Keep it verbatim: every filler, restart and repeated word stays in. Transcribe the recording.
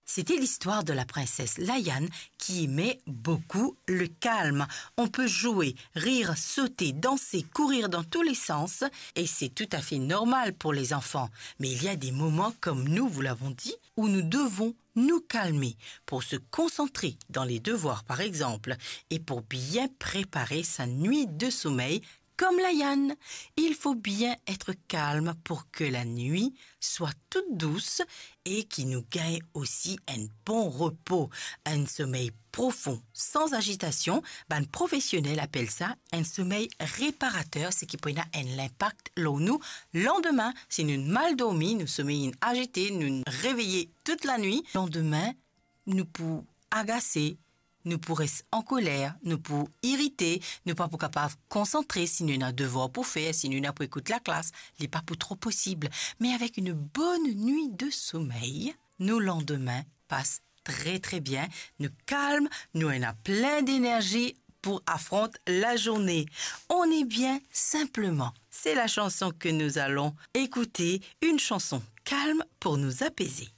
C'était l'histoire de la princesse Layann qui aimait beaucoup le calme. On peut jouer, rire, sauter, danser, courir dans tous les sens, et c'est tout à fait normal pour les enfants. Mais il y a des moments, comme nous vous l'avons dit, où nous devons nous calmer pour se concentrer dans les devoirs, par exemple, et pour bien préparer sa nuit de sommeil, comme Layann. Il faut bien être calme pour que la nuit soit toute douce et qui nous gagne aussi un bon repos, un sommeil profond, sans agitation. Bann profesionel apel sa un sommeil réparateur, ce qui pou ena un impact lor nou landime. Si nou mal dormi, nou somey inn agite, nou reveye tout lanwit, landime, nou pou agase, nou pou res ankoler, nou pou irite, nou pa pou kapav konsantre. Si nou ena devwar pou fer, si nou ena pou ekout laklas, li pa pou tro posib. Me avek une bonne nuit de sommeil, nou landime pas très très bien, nou kalm, nou ena plin d'énergie pour affronter la journée. On est bien simplement. C'est la chanson que nous allons écouter, une chanson calme pour nous apaiser.